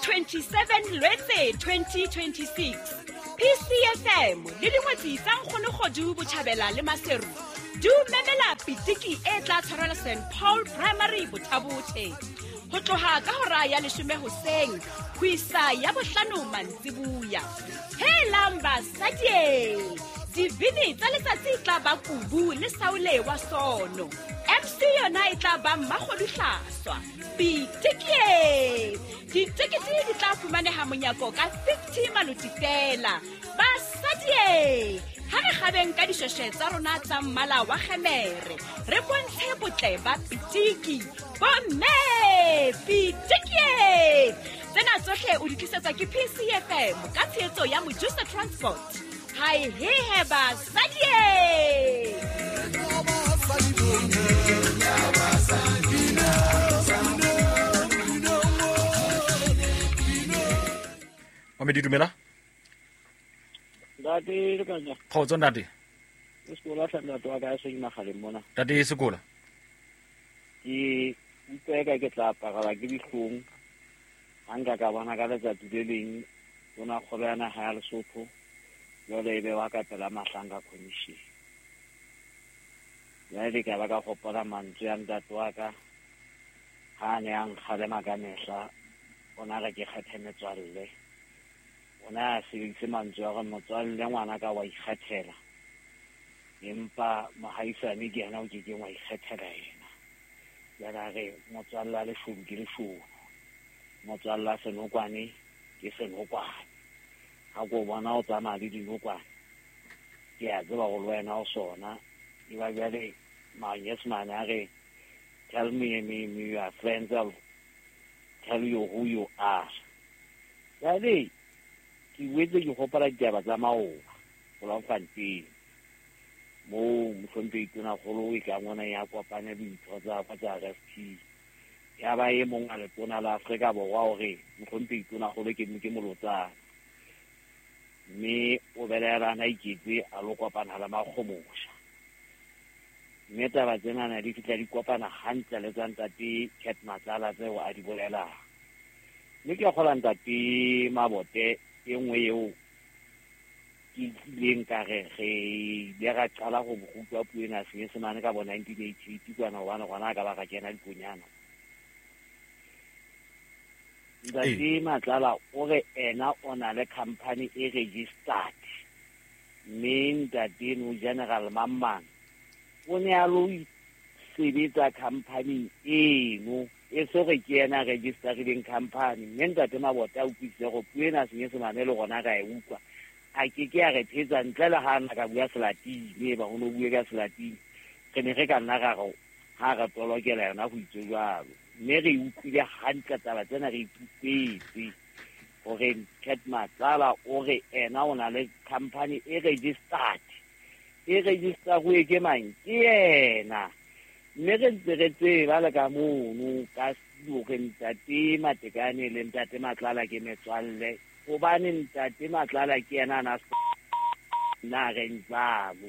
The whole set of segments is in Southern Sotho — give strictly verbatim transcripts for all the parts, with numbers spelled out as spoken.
twenty-seven Lwetse twenty twenty-six, P C F M le dingwetsi tsa Nkgono Kgodu Botjhabela le Maseru di o memela pitiki e tla tshwarelwa Saint Paul Primary Bothabothe ho tloha ka hora ya leshome hoseng ho isa ya bohlano mantsibuya. Helang basadi, dibini tsa letsatsi e tla ba Kubu le Saule wa Sono. M C yona e tla ba Mmakgodu Hlaswa. Pitiki! Ditekete di tla fumaneha monyako ka fifty maloti fela. Basadi, ha re kgabeng ka dishweshwe tsa rona tsa mmala wa kgemere, re bontshe botle ba pitiki. Bomme, pitiki! Tsena tsohle o di tlisetswa ke P C F M ka tshehetso ya Mojusa Transport. Hai he he basadi! Mamedi dumela. Ntate Lekanya. Kgotso ntate. Sekola sa ntate wa ka se magaleng mona. Ntate Sekola. Ke utlwa ka ke tla apara ke dihlong. Ha nka ka bona ka letsatsi le leng ona kgolo ya naha ya Lesotho jwale e be wa ka pela Mahlanka Commission. Jwale ka ba ka gopola mantswe a ntate wa ka ha ne a nkgalema ka mehla, ona re ke kgethe metswalle. Ona a sebedise mantswe a gore motswalle ngwana ka wa ikgethela, empa mohaisane ke yena o ke keng wa ikgethela yena. Jwale a re motswalle a leshodu ke leshodu, motswalle a senokwane ke senokwane. Ha ko bona o tsamaya le dinokwane, ke a tseba gore le wena o sona. E ba jwale manyesemane a re tell me, me, me your friends, I'll tell you who you are. Jwale ke boetse ke gopola ditaba tsa maoba Bloemfontein moo mohlomphehi Tonakgolo e ka ngwana ya kopane ditho tsa tsa R F P. Ya ba e mong a letona la Afrika Borwa hore mohlomphehi Tonakgolo ke ke molotsana, mme o belaela na iketse a lo kopana le Makgomosha. Mme taba tsenana di fihla di kopana hantle le tsa ntate Cat Matlala tseo a di bolelang. Mme ke kgola ntate Mabote e nngwe eo ke ileng ka re re ile ra qala go rutwa puo ena Senyesemane ka bo nineteen eighty-eight kwana, hobane gona ka ba ka kena dikonyana. Ntate Matlala o re ena o na le company e registered, mme ntate no General Mamman o ne a lo sebetsa company eno e se re ke yena registerileng company. Mme ntate Mabote a utlwisise gore puo ena Senyesemane le gona ka e utlwa, a ke ke a re phetsa ntle le ha na ka bua Selatini, e ba ho no bue ka Selatini re ne re ka nna ra re ha re tolokela yona go itse jwalo. Mme re utlwile hantle taba tsena, re ikutlwetse gore Cat Matlala o re ena o na le company e registered, e registeruwe ke mang? Ke yena. Mme re ntse re tseba le ka mono ka hore ntate Matekane le ntate Matlala ke metswalle, hobane ntate Matlala ke yena a na nna reng jwalo.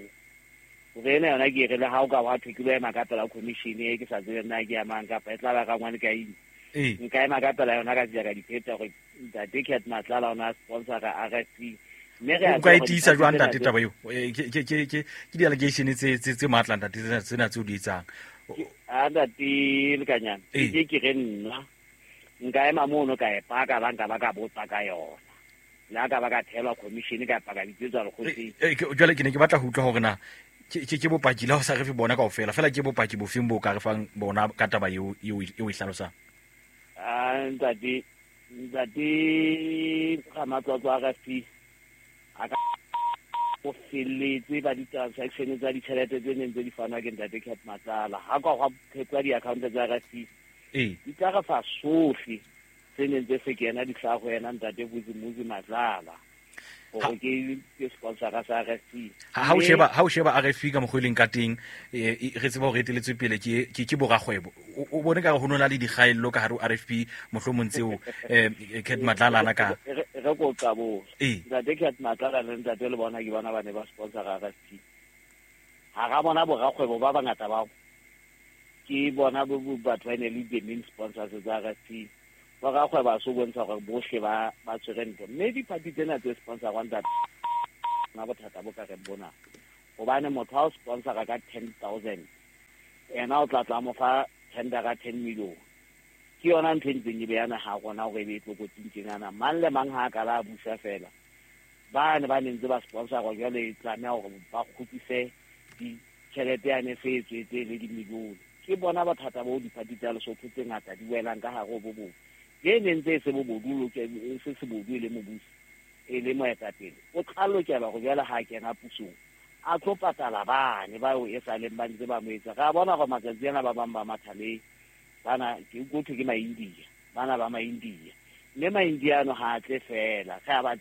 Hore ena yona ke re le ha o ka wa thwe ke lo ema ka pela commission e ke sa tsebe nna ke ya mang kapa e tla ba ka ngwane ka eng, nka ema ka pela yona ka tsela ka dipheta gore ntate Cat Matlala o na sponsor-a R F P. O ka e tiisa jwang ntate taba eo? Ke ke ke ke di-allegation tse tse tse matla ntate tsena tseo di etsang. A ntate Lekanyana, ke ke re nna nka ema mono ka e paka ba nka ba ka botsa ka yona, le ha ka ba ka thelwa commission ka paka bitsetswa lekgotleng. Jwale ke ne ke batla ho utlwa hore na ke ke bopaki la ho sa re fe bona kaofela, fela ke bopaki bofeng bo ka re fang bona ka taba eo eo e hlalosang? A ntate ntate Ramatlotlo R F P a ka o felletse ba di-transaction tsa ditjhelete tse neng tse di fanwa ke ntate Cat Matlala. Ha ka hwa phethwa di-account tsa R F P di tla re fa sohle tse neng tse se kena di hlaha ho yena ntate Vusimuzi Matlala hore ke ke sponsor-a sa R F P. Ha o sheba ha o sheba R F P ka mokgwa e leng ka teng, re tseba hore eteletswe pele ke ke ke borakgwebo. O bone ka ho nona le dikgaello ka hare ho R F P mohlomong tseo Cat Matlala ana ka re ko qabo. Ntate Cat Matlala le ntate le bona ke bona ba ne ba sponsor R F P. Ha ra bona borakgwebo ba bangata bao ke bona bo batho ba ne le the main sponsors tsa R F P. Borakgwebo a so bontsha gore bohle ba ba tshwere ntho. Mme diphathi tsena tse sponsorwang ntate na bothata bo ka re bona. Hobane motho ha o sponsora ka ten thousand ena o tla tla mo fa tendera ten million. Ke yona ntho e ntseng e beya naha rona hore e be e tlokotsing tjenana. Mang le mang ha a ka la busa fela. Ba ne ba ne ntse ba sponsora jwale e tlameha hore ba kgutlise ditjhelete yane se e tswetse le dimilione. Ke bona bothata bo diphathi tsa Lesotho tse ngata di welang ka hare ho bo bong. Ke ne ntse e se bobodu e se sebodu e le mobusi e le moetapele. O tla lokela hore jwale ha a kena pusong a tlo patala bane bao e sa leng ba ntse ba mo etsa. Re a bona hore matsatsi ana ba bang ba matha le bana ke utlwe ke ma-India, bana ba ma-India. Mme ma-India ano ha a tle fela. Re a ba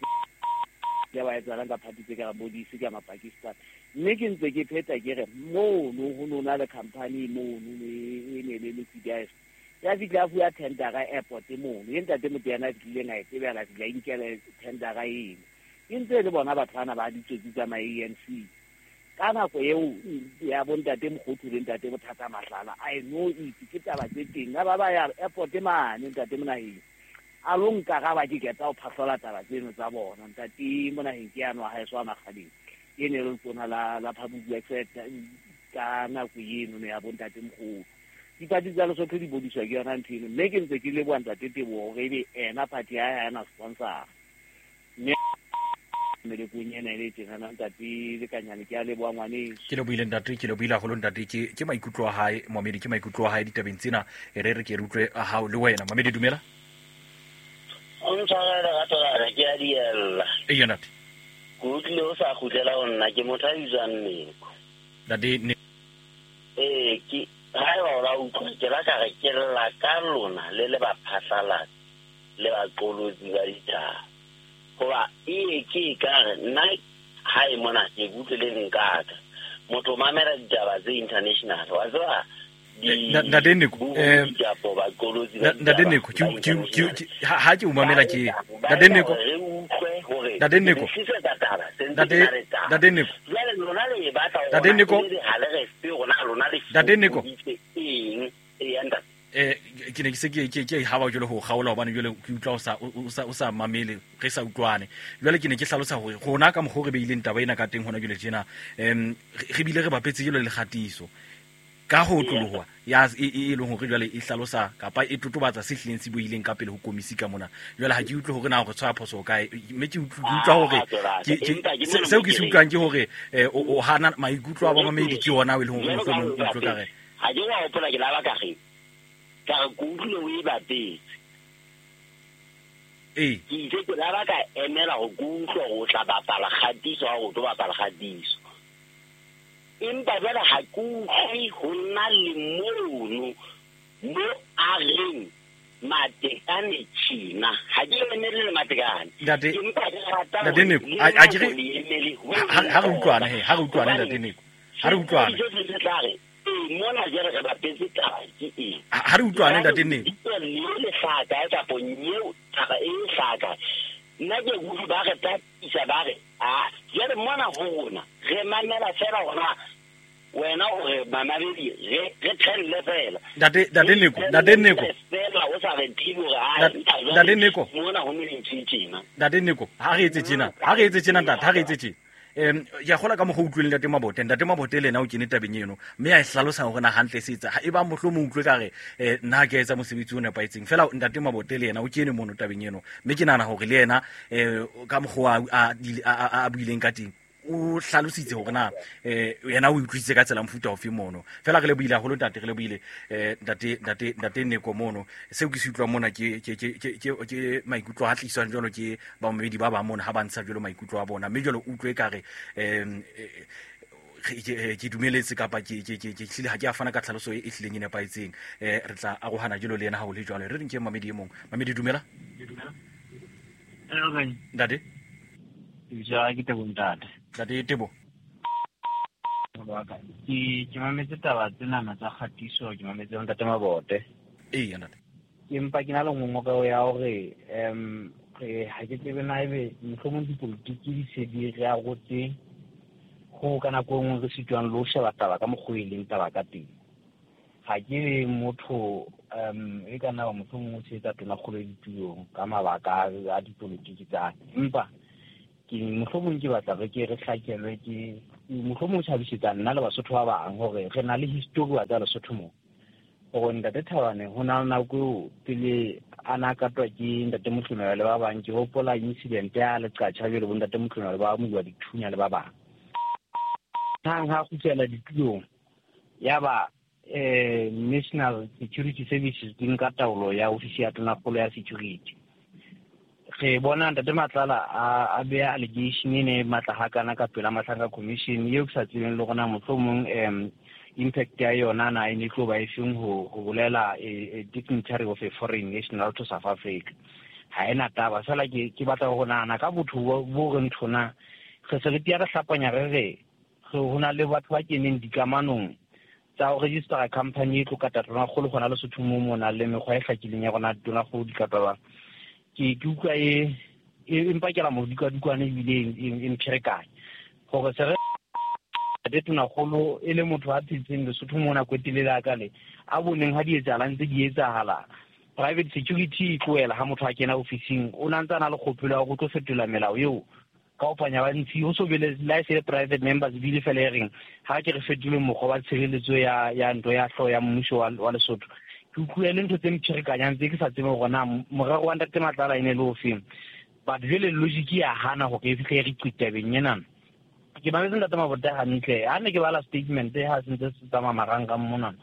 tseba ba etsahalang ka party tse ka bo D C ka ma-Pakistan. Mme ke ntse ke pheta ke re mono ho no na le company mono e ne le liquidized. Ya fihla a fuwa tendera airport mono. E ntate motho yana a fihlileng a e tsebela, a fihla a inkela tendera eno. E ntse e le bona batho bana ba ditsotsi tsa ma-A N C. Ka nako eo ya bo ntate Mokgothu le ntate Bothata Mahlala, I know it, ke taba tse teng. Ha ba ba ya airport mane ntate Monaheng, a lo nkaraba ke qeta ho phahlola taba tseno tsa bona. Ntate Monaheng ke yano wa haeso wa Makgading, e ne le letona la, la Public Works ka nako eno ya bo ntate Mokgothu. Diphathi tsa Lesotho di bodiswa ke yona ntho eno. Mme ke ntse ke leboha ntate Teboho hore ebe ena party ya hae ha ena sponsor. Mme melekong ena e le tjenana ntate Lekanyane, ke a leboha ngwaneso. Ke lebohile ntate, ke lebohile haholo ntate. Ke, ke maikutlo a hae Mohamedi, ke maikutlo a hae ditabeng tsena. E re re ke re utlwe a hao le wena. Mohamedi, dumela. O ntshwarele lerato la ka, ke a diella. Eya ntate. Ke utlwile o sa kgutlela ho nna, ke motho a bitswang Neko. Ntate, ne Ee, ke haeba o la utlwa, ke la ka re ke lla ka lona le le baphatlalatsi le baqolotsi ba ditaba. Hoba e ke e ka re nna hae mona ke utlwe le nkaka. Motho o mamela ditaba tse international, wa tseba di Ntate Neko, bo eh, dijapo, baqolotsi ba Ntate ditaba Neko, ke ba ke ke international. ke ha ha ke o mamela Ba ke etsa, ba Ntate etsa Neko. hore re utlwe hore Ntate Neko. re tlisetsa taba, se ntse Ntate ke na le taba. Ntate Neko. Jwale lona le e batla hore Ntate Neko. le ha le re fe rona lona le Ntate Neko. fokoditse eng? Eya ntate. Eh, ke ne ke se ke ke ke haba jwale ho kgaola hobane jwale ke utlwa o sa o sa o sa mamele, re sa utlwane. Jwale ke ne ke hlalosa hore rona ka mokgwa o re beileng taba ena ka teng hona jwale tjena, em re bile re bapetse jwale le kgatiso ka ho otloloha ya e e leng hore jwale e hlalosa kapa e totobatsa se hlileng se buileng ka pele ho komisi ka mona. Jwale ha ke utlwe hore na hore tshwaya phoso kae, mme ke utlwe ke utlwa hore ke ke seo ke se utlwang ke hore o hana maikutlo a bamamedi ke yona e leng hore mohlomong o utlwe ka re Ha ke wa hopola ke laba ka re ka re ke utlwile o e bapetse. Ee. Ke itse ke laba ka emela ho ke utlwe hore o tla bapala kgatiso ha o tlo bapala kgatiso. Empa jwale ha ke utlwe ho nna le mono mo a reng Matekane tjena. Ha ke emele le Matekane. Ntate, Empa ke rata Ntate hore Neko, le a a ke re nna le emele ho ha ha re utlwane he, ha re utlwane Hobane Ntate Neko. Ha re utlwane. Se se tla re, ee, mona jwale re bapetse taba ke eng? Ha re utlwane Ntate Neko. Lebitso le le hlaka kapa nyeo taba e hlaka. Nna ke utlwe ba re tatisa ba re, ah, jwale mona ho rona re mamela fela hona wena o re mamabedi re re thelle fela. Ntate, Ntate Neko, Ntate Neko. Fela o sa re thibe hore, ah, Ntate, jwale Ntate Neko. mona ho ne le ntho e tjena. Ntate Neko, ha re etse tjena, ha re etse tjena ntate, ha re etse tjena. Em ya kgola ka mokgwa o utlwileng Ntate Mabote, Ntate Mabote le yena o kene tabeng eno, mme a e hlalosa hore na hantle se etsa. Ha eba mohlomong utlwe ka re, eh, nna ha ke a etsa mosebetsi o nepahetseng. Feela Ntate Mabote le yena o kene mono tabeng eno, mme ke nahana hore le yena, eh, ka mokgwa a, a, a, a buileng ka teng, o hlalositse hore na, eh, yena o utlwisitse ka tsela mofuta ofe mono. Feela re lebohile haholo ntate, re lebohile, eh, ntate, ntate, ntate Neko mono. Seo ke se utlwang mona ke, ke, ke, ke, ke, ke maikutlo a tliswang jwalo ke bamamedi ba bang mona ha ba ntsha jwalo maikutlo a bona. Mme jwalo utlwe ekare, em, eh, ke, ke dumeletse kapa ke, ke, ke, ke hlile ha ke a fana ka tlhaloso e hlileng e nepahetseng. Eh, re tla arohana jwalo le yena ha ho le jwalo. Re re nke mamedi e mong. Mamedi, dumela. Hello, Kanye. Ntate. Lebitso la ka ke Tebo ntate. Ntate Tebo. Ke, ke mametse taba tsenana tsa kgatiso, ke mametse ntate Mabote. Ee, ntate. Ke empa ke na le ngongoreho ya hore, em, re ha ke tsebe na ebe mohlomong dipolotiki di se di re arotse ho ka nako e nngwe re sitwang le ho sheba taba ka mokgwa e leng taba ka teng. Ha ke motho um e ka nna motho mongwe o tshehetsa tonakgolo ditulong ka mabaka a dipolotiki tsa empa ke mohlomong ke batla re ke re hlakelwe ke mohlomong o tjhabisetsa nna le Basotho ba bang hore re na le history wa tsa Lesotho mo hore ntate Thabane ho na le nako eo pele a na katwa ke ntate Motlomela le ba bang ke hopola incident ya Leqatjha jwale bo ntate Motlomela ba amohuwa dithunya le ba bang hang ha kgutlela ditulong ya ba eh National Security Services di nka taolo ya ofisi ya tonakgolo ya security re bona ntate Matlala a a beha allegation ene matla hakana ka pela Matlanga Commission eo ke sa tsebeng le rona mohlomong um impact ya yona na e ne tlo ba efeng ho ho bolela a dignitary of a foreign national to South Africa ha ena taba fela ke ke batla go nahana ka botho bo re nthona re se re tia re hlapanya re re ho na le batho ba keneng dikamanong tsa ho register company e tlo kata tonakgolo gona Lesotho mo mona le mekgwa e hlakileng ya rona tonakgolo di katwa ba ke ke utlwa e e mpakela modikadikwane ebile e mpherekanya gore se re ntate tonakgolo e le motho a phetseng Lesotho mo nako e telele a ka le a boneng ha di etsahalang tse di etsahala private security e tlohela ha motho a kena ofising o na ntse a na le kgopolo ya hore o tlo fetola melao eo ka opanya ba ntshi ho so bele la se private members bile fela e reng ha ke re fetole mokgwa wa tshireletso ya ya ntlo ya hlo ya mmuso wa wa Lesotho ke utlwile le ntho tse mpherekanyang tse ke sa tsebe hore na morero wa ntate Matlala e ne le ofeng but jwale logic ya hana hore e fihle re qitabeng ena ke mametse ntate Mabote hantle ha ne ke bala statement ha se ntse se tsamaya marangrang mona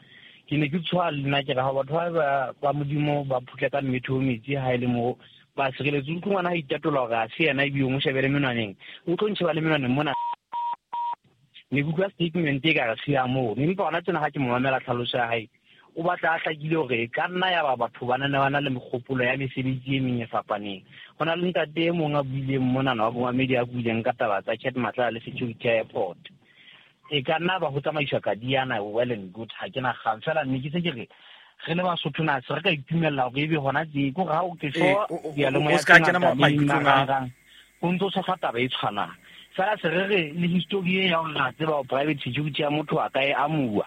ke ne ke tshoha le nna ke re ha batho ba ba Modimo ba phutla ka mmetho metsi ha e le mo ba sireletse utlwe ngwana ha itatola hore ha se yena ebile o mo shebele menwaneng o tlo ntsheba le menwaneng mona ne ke utlwa statement e ka re se ya moo empa hona tjena ha ke mo mamela tlhaloso ya hae o batla a hlakile hore e ka nna ya ba batho ba na ba na le mekgopolo ya mesebetsi e meng e fapaneng ho na le ntate e mong a buileng monana wa bomamedi a buileng ka taba tsa Cat Matlala le security airport e ka nna ba ho tsamaiswa ka diana well and good ha ke na kgang fela mme ke se ke re re le Basotho na se re ka itumella hore ebe hona tje ko ha o ke so diyalemoya o ska kena maikutlong a ho ntso tshohla taba e tshwanang fela se re re le history e ya hore ra tseba hore private security ya motho a ka e amuwa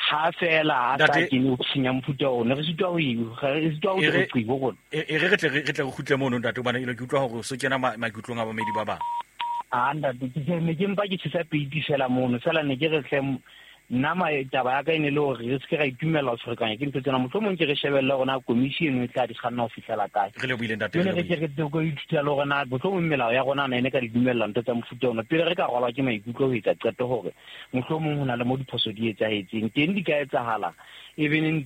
ha fela a sa kene ofising ya mofuta ona re sitwa ho e re sitwa ho re qibo rona e re re tle re tle re kgutle mono ntate hobane ke utlwa hore so kena maikutlong a bamedi ba bang a ntate ke ne ke mpa ke tshisa peiti fela mono fela ne ke re hle nna taba ya ka e ne le hore re se ke ra itumella ho ferekanya ke ntho tsena mohlomong ke re shebelle hore na commission e tla di kganna ho fihlela kae re lebohile ntate re ke re tlo ithuta le hore na mohlomong melao ya rona na ene ka di dumella ntho tsa mofuta ona pele re ka rwalwa ke maikutlo ho etsa qeto hore mohlomong ho na le mo diphoso di etsahetseng teng di ka etsahala even in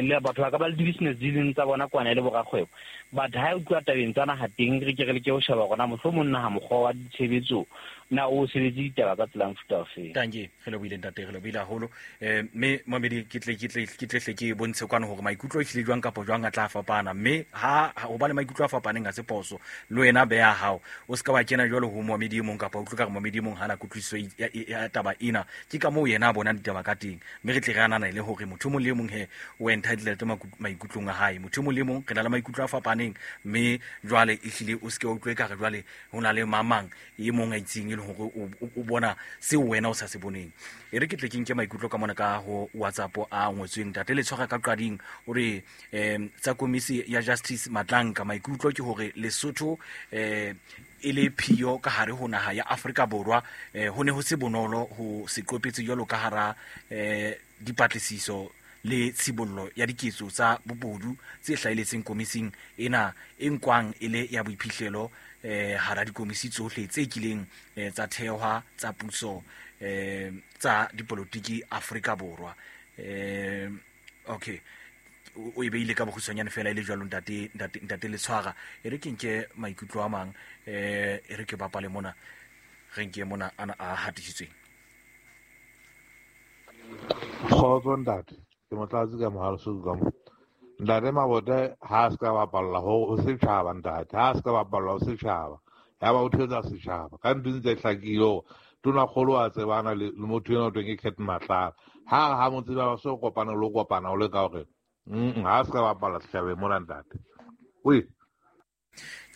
le batho ba ka ba le di-business dealings tsa bona kwana le borakgwebo but ha e utlwa tabeng tsa naha teng re ke re leke ho sheba hore na mohlomong naha mokgwa wa ditshebetso na o sebetse ditaba ka tsela mofuta ofeng tanke re lebohile ntate re lebohile haholo um mme mamedi ke tle ke tle ke tle hle ke bontshe kwana hore maikutlo e hlile jwang kapa jwang a tla fapana mme ha ho ba le maikutlo a fapaneng ha se phoso le wena beha hao o ska wa kena jwalo ho momedi e mong kapa o utlwe ka re momedi e mong hana kutlwisiso ya taba ena ke ka moo yena a bonang ditaba ka teng mme re tle re anana le hore motho mong le mong he o entitled maikutlong a hae motho mong le mong re na le maikutlo a fapaneng mme jwale e hlile o seke wa utlwe ka re jwale ho na le mamang e mong a itseng e leng hore o bona seo wena o sa se boneng e re ke tle ke nke maikutlo ka mona ka ho WhatsApp a ngotsweng ntate le tshwara ka qading o re um tsa komisi ya Justice Matlanka maikutlo ke hore Lesotho um e le phiyo ka hare ho naha ya Afrika Borwa eh, ho ne ho se bonolo ho se qopetse jwalo ka hara eh, dipatlisiso le tshibollo ya diketso tsa bobodu tse hlahiletseng komising ena e nkwang e le ya boiphihlelo eh, hara dikomisi tsohle tse kileng eh, tsa thehwa tsa puso eh, tsa dipolotiki Afrika Borwa eh, okay o e beile ka bokgutshwanyane fela e le jwalo ntate ntate ntate le tshwara e re ke nke maikutlo a mang eh e re ke bapale mona re nke mona ana a hatisitsweng kgotso ntate ke motlatsi ka mohaleso ka mo ntate Mabote ha a se ka bapalla ho setjhaba ntate ha a se ka bapalla ho setjhaba ya ba o thetsa setjhaba ka ntho ntse hlakile hore tonakgolo a tsebana le motho ena o tweng ke Cat Matlala ha ha mo tseba ba so kopana le kopana o le ka hore mm ha se ka bapalla setjhabeng mona ntate oi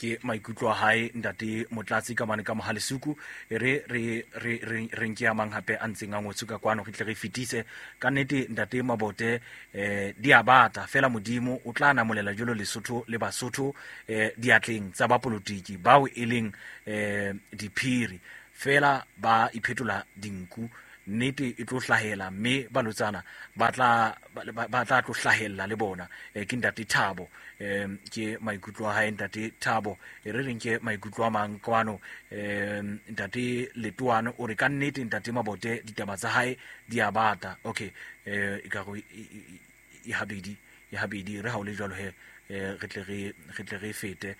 Ke maikutlo a hae ntate Motlatsi ka mane ka Mohalesuku. Re re re re nke a mang hape a ntseng a ngotswe ka kwano, re tle re fetise ka nnete ntate Mabote. Eh di a bata fela, Modimo o tla namolela jalo Lesotho le Basotho eh diatleng tsa bapolotiki bao e leng eh diphiri fela ba iphetola dinku. Nnete e tlo hlahela mme balotsana ba tla ba tla tlo hlahella le bona. E, ke ntate Thabo, um ke maikutlo a hae ntate Thabo. E re reng ke maikutlo a mang kwano. um ntate Letoane o re ka nnete ntate Mabote ditaba tsa hae di a bata. Okay, eh e ka go e habedi e habedi re ha o le jwalo he, re tle re re tle re fete.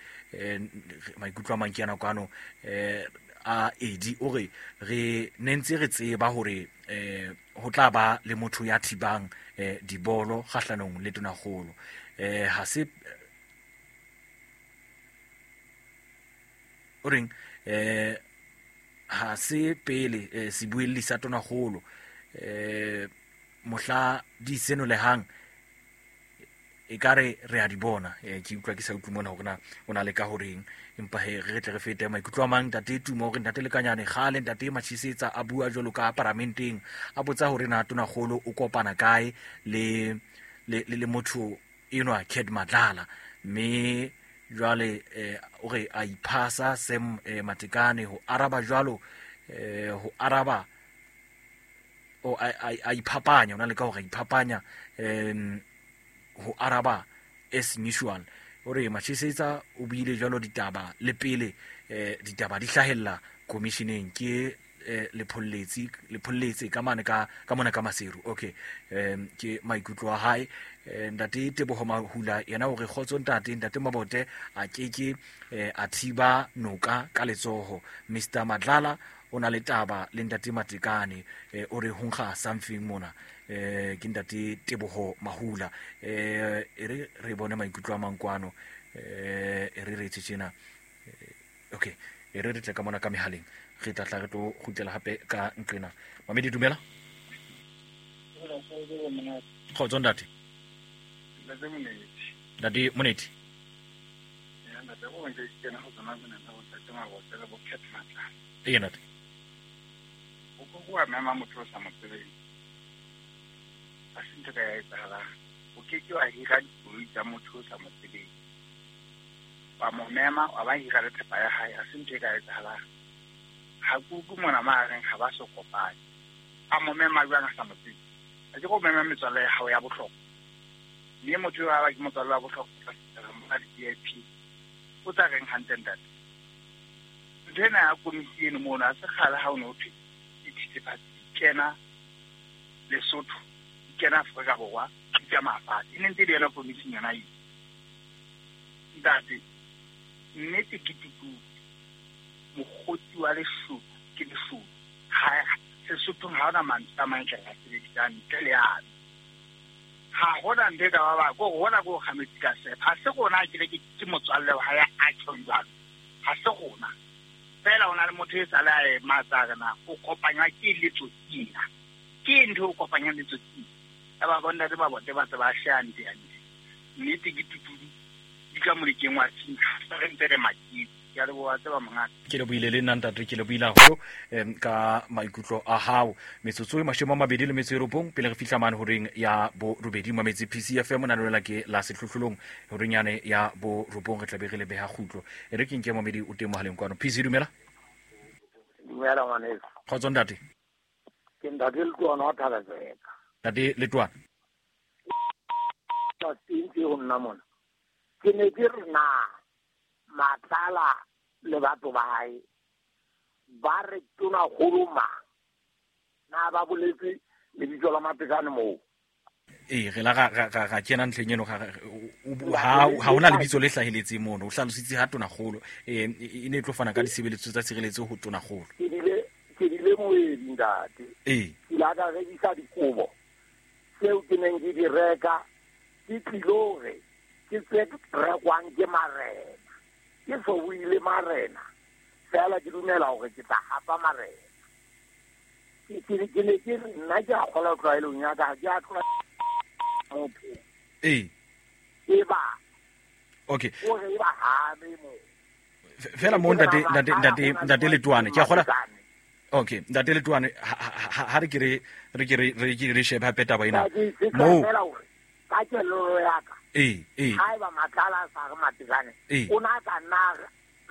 Maikutlo a mang ke ana kwano. Eh a edi o re re ne ntse re tseba hore eh ho tla ba le motho ya thibang eh dibolo kgahlanong le tonakgolo. Eh ha se o reng eh ha se pele eh, sebuelli sa tonakgolo eh mohla di senolehang e kare re a di bona. Eh, ke utlwa ke sa utlwe mona hore na o na le ka horeng, empa he re tle re fete maikutlo a mang. Ntate Tumo hore ntate Lekanyane kgale ntate Machisetsa a bua jwalo ka paramenteng, a botsa hore na tonakgolo o kopana kae le le le motho enwa Cat Matlala, mme jwale eh, o re a iphasa Sam eh, Matekane ho araba jwalo eh, ho araba o a, a, a iphapanya, o na le ka hore a iphapanya em ho araba as usual. O re Machisetsa o buile jwalo ditaba le pele eh, ditaba di hlahella commissioneng ke eh, lepholletsi lepholletsi ka mane ka ka mona ka Maseru. Okay, em ke maikutlo a hae. Ntate Teboho Mahula yena o re kgotso ntate, ntate Mabote a keke a thiba noka ka letsoho. Mister Matlala o na le taba le ntate Matekane, o re ho nkga something mona. Eh ke ntate Teboho Mahula. Eh e re re bone maikutlo a mang kwano. Eh e re re tjena. Okay, e re re tle ka mona ka mehaleng, re tla tla re tlo kgutlela hape ka nqena. Mamedi dumela. Kgotso ntate. Ntate Moneti. Ya ntate o ntse ke na ho tsona tsena tsa ntate Mabote le bo Cat Matlala. Ee ntate. O ko wa mema motho o sa mo tsebeng. A se ntho ka ya etsahalang. O ke ke wa hira dikoloi tsa motho o sa mo tsebeng. Wa mo mema wa ba hira le thepa ya hae, a se ntho e ka etsahalang. Ha kuku mona mahareng ha ba so kopane. A mo mema jwang a sa mo tsebe? A ke go mema metswalle ya hao ya bohlokwa. Mme motho wa ba ke motswalle wa bohlokwa tla di V I P. O tla reng hantle ntate? Ntho ena ya komiti eno mono a se kgale ha o ne ho thwe dithethefatsi di kena Lesotho, di kena Afrika Borwa, di tsamaya fatshe. E ne ntse e le yona komising yona eo. Ntate, nnete ke tutudu. Mokgotsi wa leshodu ke leshodu. Ha Sesothong ha hona mantswe a mang ke a sebedisang ntle le ano. Ha hona ntho e ka ba ba ko hona ko kga metsi ka sefa. Ha se rona ke re ke motswalle wa hae a tjhong jwalo. Ha se rona. Fela o na le motho e sale a ema tsa re na o kopanywa ke letsotsi ena. Ke ntho o kopanyang letsotsi. Ya ba bona ntate Mabote ba tse ba shaya nte ya nte. Nnete ke tutudu di ka molekeng wa tshintha re ntse re makile. Ke a leboha tseba mongaka. Ke lebohile le nna ntate, ke lebohile haholo em ka maikutlo a hao. Metsotso e mashome a mabedi le metso e robong pele re fihla mane horeng ya borobedi Mametsi P C F M na lona ke la sehlohlolong horeng yane ya borobong re tla be re le beha kgutlo. E re ke nke mamedi o teng mohaleng kwano. P C dumela. Dumela ngwaneso. Kgotso ntate. Ke ntate Letoane wa Thabazeka. Ntate Letoane. Ke ho nna mona. Ke ne ke re na Matlala le batho ba hae ba re tonakgolo mang na ba boletse lebitso la Matekane moo? Ee, re la ga ga ga kena ntlheng eno ga ha ha hona lebitso le hlaheletseng mono. O hlalositse ha tonakgolo eh e ne e tlo fana ka ditshebeletso tsa tshireletso ho tonakgolo. Ke dile ke dile moedi ntate. Ee. Ke la ka rekisa dikobo tseo ke neng ke di reka ke tlilo re ke tse rekwang ke marena. Ke so buile marena fela ke dumela hore ke tla hapa marena. Ke ke ke ne ke nna ke a kgola tlwaelong ya ka, ke a tlola motho. Ee. E ba. Okay. O re ba habe mo. Fela mo ntate ntate ntate ntate Letoane ke a kgola. Okay, ntate Letoane ha re ke re re ke re re ke re shebe hape taba ena. Mo ka kelello ya ka. Eh eh. Haeba Matlala a sa re Matekane o na ka nna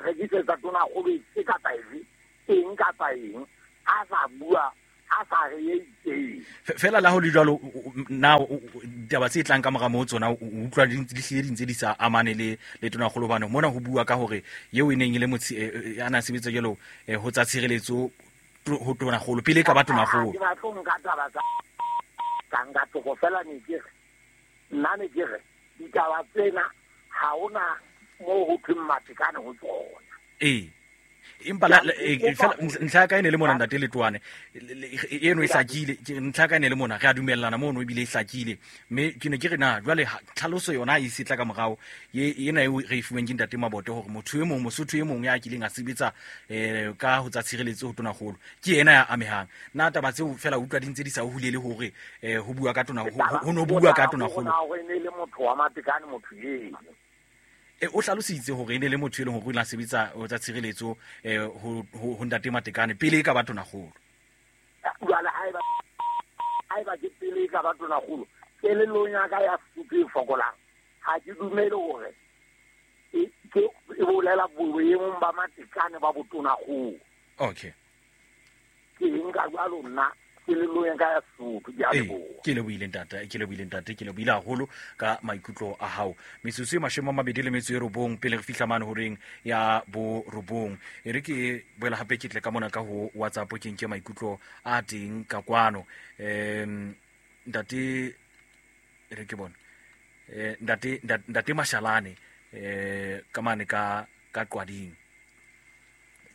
rekisetsa tonakgolo efe kapa efe eng kapa eng a sa bua a sa re e itseng. Fela la ho le jwalo na ditaba tse tlang ka mora moo tsona o utlwa di hlile di ntse di sa amane le le tonakgolo bana mona ho bua ka hore eo e neng e le motse a na sebetsa jalo ho tsa tshireletso ho tonakgolo pele ka ba tonakgolo. Ke batlo nka taba tsa ka nka toko fela ne ke re nna ne ke re ditaba tsena ha hona moo ho thweng Matekane ho tsona. Eh empa la fela ntlha ka ene le mona ntate Letoane eno e hlakile ntlha ka ene le mona re a dumellana mono ebile e hlakile mme ke ne ke re na jwale tlhaloso yona e setla ka morao ye ena eo re e fuweng ke ntate Mabote hore motho e mong Mosotho e mong ya kileng a sebetsa eh ka ho tsa tshireletso ho tonakgolo ke ena ya amehang na taba tseo fela utlwa di ntse di sa hulele hore eh ho bua ka tona ho no bua ka tonakgolo ho ne le motho wa Matekane motho eno. E o hlalositse hore e ne le motho e leng hore o ile a sebetsa ho tsa tshireletso eh ho ho ntate Matekane pele e ka ba tonakgolo. Jwale haeba haeba ke pele e ka ba tonakgolo kelellong ya ka ya Sesotho e fokolang ha ke dumele hore e ke e bolela boemong ba Matekane ba botonakgolo. Okay. Ke nka jwalo nna kelellong ya ka ya Sesotho ke a leboha. Ke lebohile ntate, ke lebohile ntate, ke lebohile haholo ka maikutlo a hao. Metsotso e mashome a mabedi le metso e robong pele re fihla mane horeng ya bo robong. E re ke boela hape ke tle ka mona ka ho WhatsApp ke nke maikutlo a teng ka kwano. Em ntate e re ke bona. Eh ntate ntate Mashalane eh ka mane ka ka Qwading.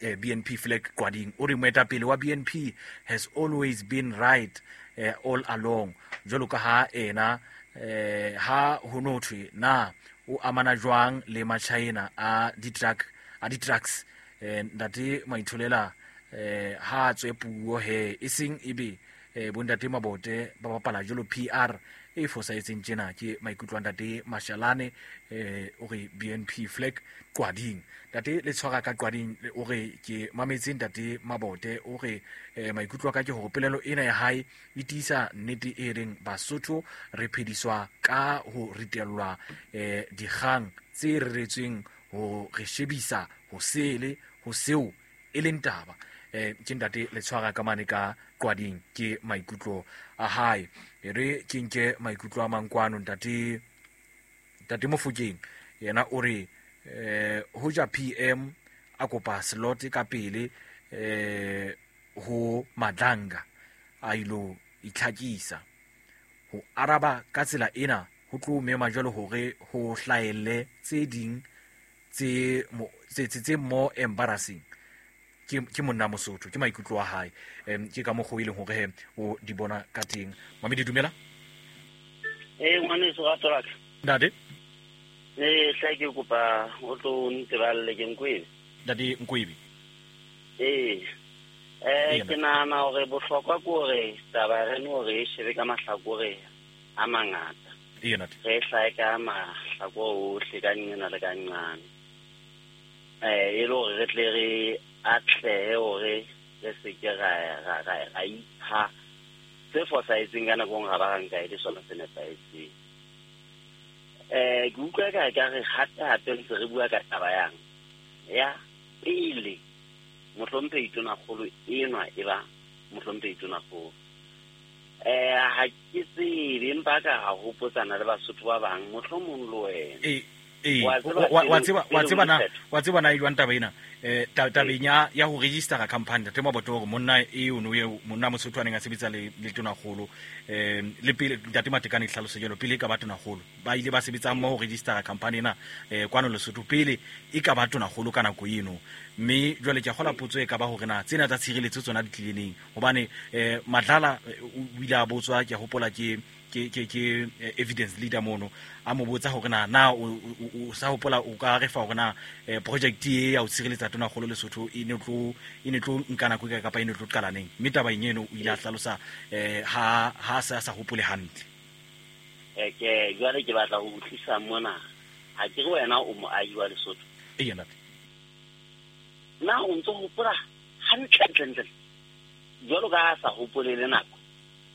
B N P flag Qwading o re moetapele wa B N P has always been right eh, all along jwalo ka ha ena eh, ha ho no thwe na o amana jwang le Machina a di-truck a di-trucks eh, ntate Maitholela eh, ha tswe puo he e seng ebe eh, bontate Mabote ba bapala jwalo P R e fosahetseng tjena ke maikutlo a ntate Mashalane eh o re B N P flag Qwading. Ntate le tshwara ka Qwading o re ke mametse ntate Mabote o re eh, maikutlo a ka ke hore polelo ena ya hae e tiisa nnete e reng Basotho re phediswa ka ho ritellwa eh dikgang tse reretsweng ho re shebisa ho sele ho seo e leng taba. Eh ke ntate le tshwara ka mane ka Qwading ke maikutlo a hae. E re ke nke maikutlo a mang kwano ntate ntate Mofokeng yena o re eh hoja P M a kopa slot ka pele eh ho Madlanga a ilo itlhakisa ho araba ka tsela ena ho tlo mema jwalo hore ho hlaelle tse ding tse tse tse more embarrassing. Ke ke monna Mosotho ke maikutlo a hae em ke ka mokgwa e leng hore o di bona ka teng. Mamedi dumela. Eh ngwaneso ra tsola. Ntate Eh tla ke kopa o tlo nteballe ke Nkwebe. Ntate Nkwebe. Eh eh ke nahana hore bohlokwa ke hore taba re no re shebe ka mahlakore a mangata. Ee ntate. Re hlae ka mahlakore ohle ka nngena le ka nqane. Eh e le hore re tle re atlehe hore re se ke ra ra ra ipha se fosahetseng ka nako ga ba ga nka e le sona se nepahetseng. Eh ke utlwa ka ka re hape hape ntse re bua ka taba yang ya pele mohlomphehi tonakgolo enwa e ba mohlomphehi tonakgolo. Eh ha ke tsebe empa ka ga hopotsana le Basotho ba bang mohlomong le wena. Eh eh wa tseba wa tseba na wa tseba na e jwang taba ena eh tabeng ya ya ho register company ntate Mabote hore monna e ono eo monna Mosotho a neng a sebetsa le le tonakgolo eh le pele ntate Matekane hlaloso jalo pele ka ba tonakgolo ba ile ba sebetsa mmoho ho register company ena eh kwano Lesotho pele e ka ba tonakgolo ka nako eno mme jwale ke a kgola potso e ka ba hore na tsena tsa tshireletso tsona di tlile neng hobane eh Madlala o ile a botswa ke a hopola ke ke ke ke evidence leader mono a mo botsa hore na na o sa hopola o ka re fa hore na project e ya ho tshireletsa tonakgolo Lesotho e ne tlo e ne tlo nka nako e kapa e ne tlo qala neng mme taba eno o ile a hlalosa eh ha ha sa sa hopole hantle. Eh ke jwale ke batla ho utlwisa mona ha ke re wena o moahi wa Lesotho. Ee ntate. Na o ntso hopola hantle ntle jwalo ka sa hopole le nako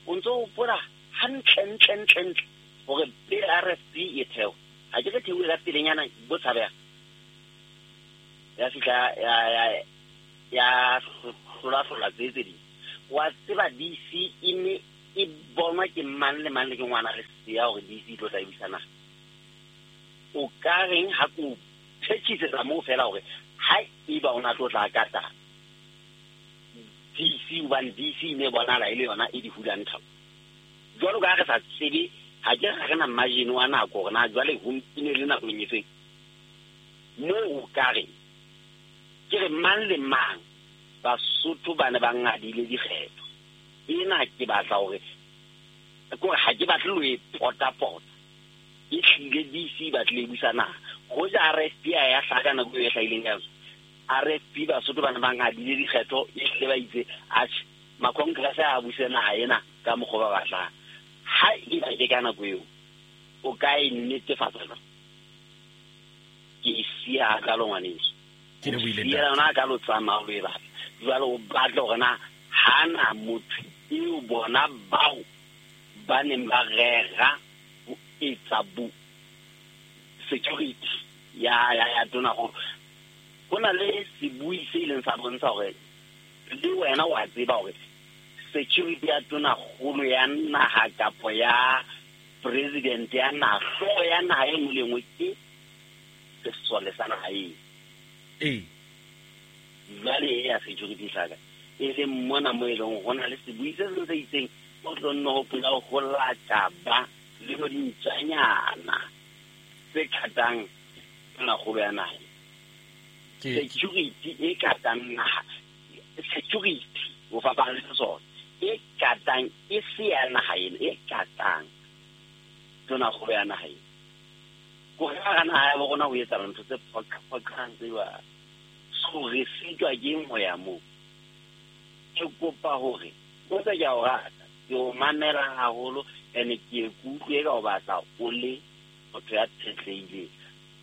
o ntso hopola hantle ntle ntle ntle hore pele R F P e theo ha ke re theohe ka pelenyana bo tshabeha ya fihla ya ya ya hlola hlola tse tse ding wa tseba D C e ne e bonwa ke mang le mang le ke ngwana re siya hore D C e tlo tla busa naha o ka reng ha ko phethisetsa moo fela hore ha eba o na tlo tla kata D C hobane D C ne bonahala e le yona e di hulang thabo jwalo ka ha re sa tsebe ha ke re na margin wa nako hore na jwale ho mpine le nakong e feng moo o ka reng ke re mang le mang Basotho ba ne ba ngadile dikgetho ena ke batla hore kore ha ke batle lo e pota-pota e hlile D C ba tlile busa naha hoja R F P a ya hlaka nako e hlahileng ka yona R F P Basotho ba ne ba ngadile dikgetho e hlile ba itse atjhe makongrese a buse naha ena ka mokgwa ba batlang ha eba ke ka nako eo o ka e netefatsa jwang ke e siya hakalo ngwaneso ke lebohile ntate yona ka lo tsamaya o e batla jwale o batla hore na hana motho eo bona bao ba neng ba rera ho etsa bo security ya ya ya tona go ho na le sebui se ileng sa bontsha hore le wena wa tseba hore security ya tona kgolo ya naha kapo ya president ya naha hlooho ya naha e nngwe le nngwe ke sesole sa naha eo ee jwale e ya security hlaka e leng mona mo e leng ho na le sebui se seng se itseng o tlo nne hopola ho lata ba le bo dintjanyana tse katang tonakgolo ya naha security e katang naha security ho fapana le sesole e katang e se ya naha ena e katang tonakgolo ya naha ena ko hara naha ya bo rona ho etsahala ntho tse phoqang tse jwalo so re sitwa ke ho ya moo ke kopa hore o tsa ke a o rata ke o mamela haholo ene ke e kutlwe ka o batla o le motho ya phetlehileng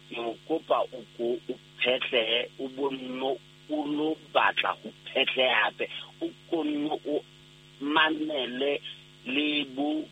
ke o kopa o ko o phetlehe o bonno o lo batla ho phetleha hape o konno o mamele le bo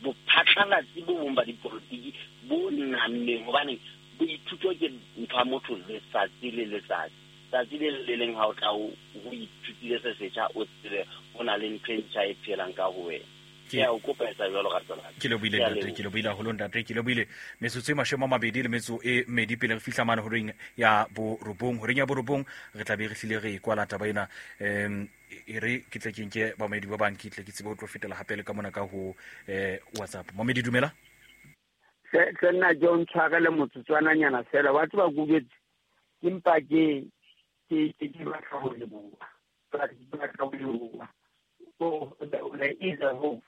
bophatlalatsi bo bong ba dipolotiki bo nammeng hobane boithuto ke ntho ya motho letsatsi le letsatsi tsatsi le le leng ha o tla o ithutile se setjha o tsebe ho na le ntho e ntjha e phelang ka ho wena ke a o kopa etsa jwalo ka tsona ke lebohile ntate ke lebohile haholo ntate ke lebohile metsotso e mashome a mabedi le metso e mmedi pele re fihla mane horeng ya borobong horeng ya borobong re tla be re hlile re e kwala taba ena um e re ke tle ke nke bamedi ba bang ke tle ke tsebe ho tlo fetela hape le ka mona ka ho eh WhatsApp Mamedi dumela se se nna ke o ntshwarele motsotswananyana fela wa tseba ke utlwetse ke mpa ke ke ke ke batla ho leboha ke batla ho leboha so there is a hope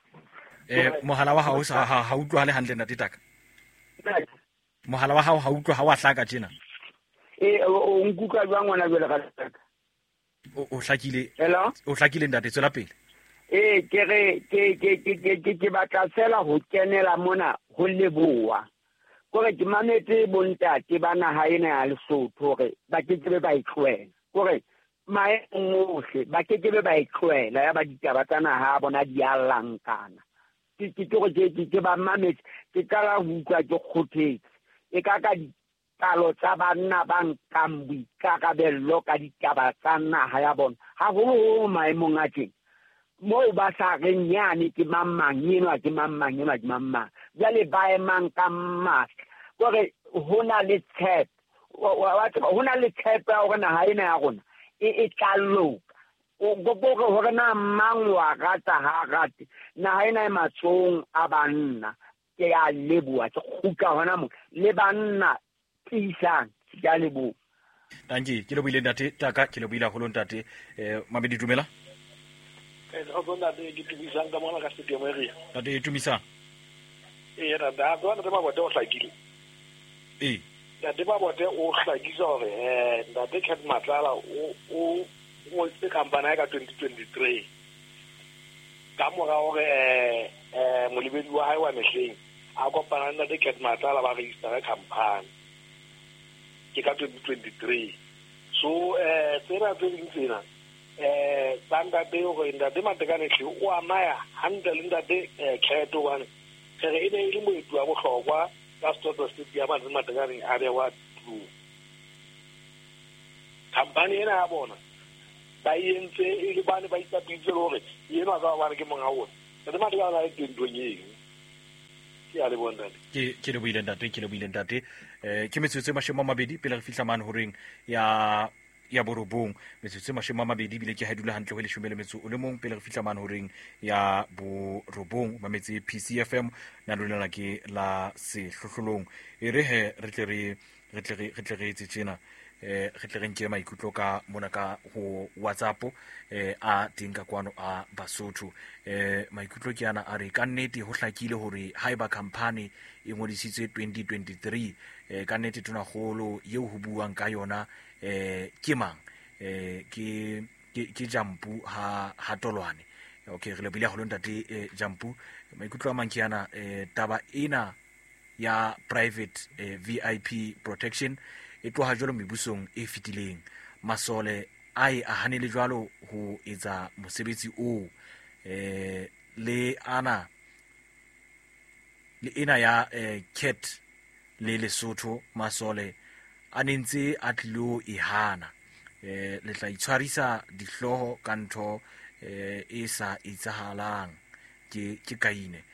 eh mohala wa hao ha ha utlwahale hantle ntate Taka mohala wa hao ha utlwa ha wa hlaka tjena eh o nkuka jwang ngwana jwale ka Taka o o hlakile hello o hlakile ntate tswela pele eh ke re ke ke ke ke ke batla fela ho kenela mona ho leboha kore ke mametse bontate ba naha ena ya Lesotho hore ba ke ke ba e tlohela kore maemong ohle ba ke ke ba e tlohela ya ba ditaba tsa naha ya bona di a lankana ke ke ke ke ke ba mametse ke qala ho utlwa ke kgothetse e ka ka dipalo tsa banna ba nkang boikarabello ka ditaba tsa naha ya bona haholoholo maemong a teng moo ba sa reng yane ke mang mang enwa ke mang mang enwa ke mang mang jwale ba emang ka matla kore ho na le tshepo wa tseba ho na le tshepo ya hore naha ena ya rona e e tla loka o hore na mang wa rata ha rate naha ena e matsohong a banna ke a leboha ke kgutla hona mo le banna tiisang ke a leboha Tanki ke lebohile ntate Taka ke lebohile haholo ntate eh Mamedi dumela eh go ntate ke tumisang ka mona ka stadium area ntate tumisang eh ntate a tswa ntate Mabote o hlakile eh ntate Mabote o hlakisa hore eh ntate Cat Matlala o o ngodisitse company ka twenty twenty-three ka mora hore eh eh molebedi wa hae wa mehleng a kopana le ntate Cat Matlala ba register company ke ka twenty twenty-three So eh tsena tse ding tsena eh tsa ntate hore ntate Matekane hle o amaya hantle le ntate Cat hobane re e ne e le moeti wa bohlokwa ka Setotho Stadium a Matekane a bewa tulong. Company ena ya bona ba entse e le bane ba itsapitse hore yena ka ba re ke monga ona. Ntate Matekane a le teng ntong eno. Ke a leboha ntate. Ke ke lebohile ntate, ke lebohile ntate. Eh ke metsotso e mashome a mabedi pele re fihla mane horeng ya ya borobong. Metsotso e mashome a mabedi bile ke ha dula hantle ho leshome le metso o le mong pele re fihla mane horeng ya borobong. Mametse P C F M na lona ke la sehlohlolong. E re he re tle re re tle re tle re etse tjena. Eh re tle re nke maikutlo ka mona ka ho WhatsApp eh a teng ka kwano a Basotho. Eh maikutlo ke ana a re ka nnete ho hlakile hore haeba company e ngodisitswe twenty twenty-three eh ka nnete tonakgolo eo ho buang ka yona eh ke mang eh ke ke Jampu ha ha Tolwane. Okay, re lebile haholo ntate Jampu. Maikutlo a mang ke ana eh taba ena ya private eh, V I P protection e tloha jwalo mebusong e fetileng. Masole a e a hanele jwalo ho etsa mosebetsi oo eh le ana le ena ya eh, Cat le Lesotho masole a nentse a tlilo e hana eh le tla itshwarisa dihloho ka ntho eh e sa etsahalang ke ke kaine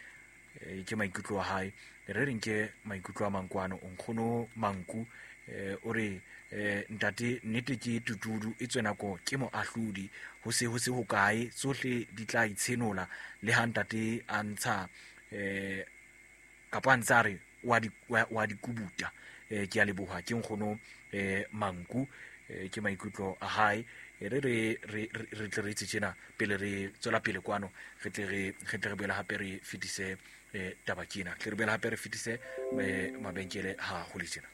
eh, ke maikutlo a hae. Re reng ke maikutlo a mankwano onkgono Manku eh o re eh ntate nnete ke tutudu e tswe nako ke moahlodi ho se ho se ho kae tsohle di tla itshenola le ha ntate a ntsha eh kapa a ntsa re wa di wa di kubuta. Eh ke a leboha ke nkgono eh Manku eh, ke maikutlo a hae. Re re re re tle re tjena pele re tswela pele kwano re tle re re tle re boela hape re fetise eh taba kena tle re boela hape re fetise mabenkele ha ho le tjena.